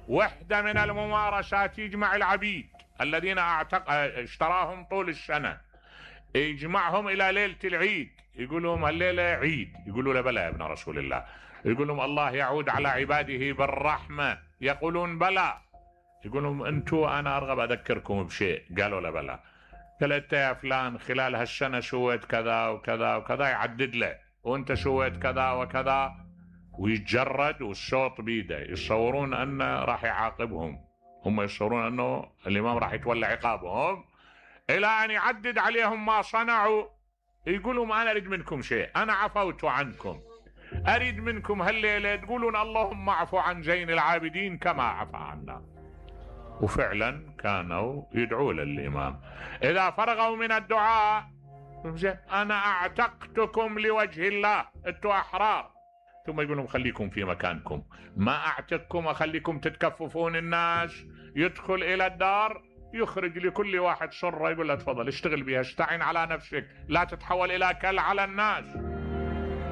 وحدة من الممارسات يجمع العبيد الذين اشتراهم طول السنة، يجمعهم إلى ليلة العيد، يقول لهم الليلة عيد، يقولوا له بلى يا ابن رسول الله، يقول لهم الله يعود على عباده بالرحمة، يقولون بلى، يقول لهم أنتوا أنا أرغب أذكركم بشيء، قالوا له بلى، قال أنت يا فلان خلال هالسنة سويت كذا وكذا وكذا، يعدد له، وأنت سويت كذا وكذا، ويتجرد والصوت بيده، يتصورون أنه راح يعاقبهم، هم يتصورون أنه الإمام راح يتولى عقابهم، إلى أن يعدد عليهم ما صنعوا، يقولون أنا أريد منكم شيء، أنا عفوت عنكم، أريد منكم هالليلة تقولون اللهم اعفو عن زين العابدين كما عفى عنا. وفعلا كانوا يدعوا للإمام إذا فرغوا من الدعاء، أنا أعتقتكم لوجه الله، أنتوا أحرار، ثم يقولون خليكم في مكانكم، ما أعتقكم أخليكم تتكففون الناس، يدخل إلى الدار يخرج لكل واحد صرة يقول له تفضل اشتغل بها، استعن على نفسك، لا تتحول إلى كل على الناس.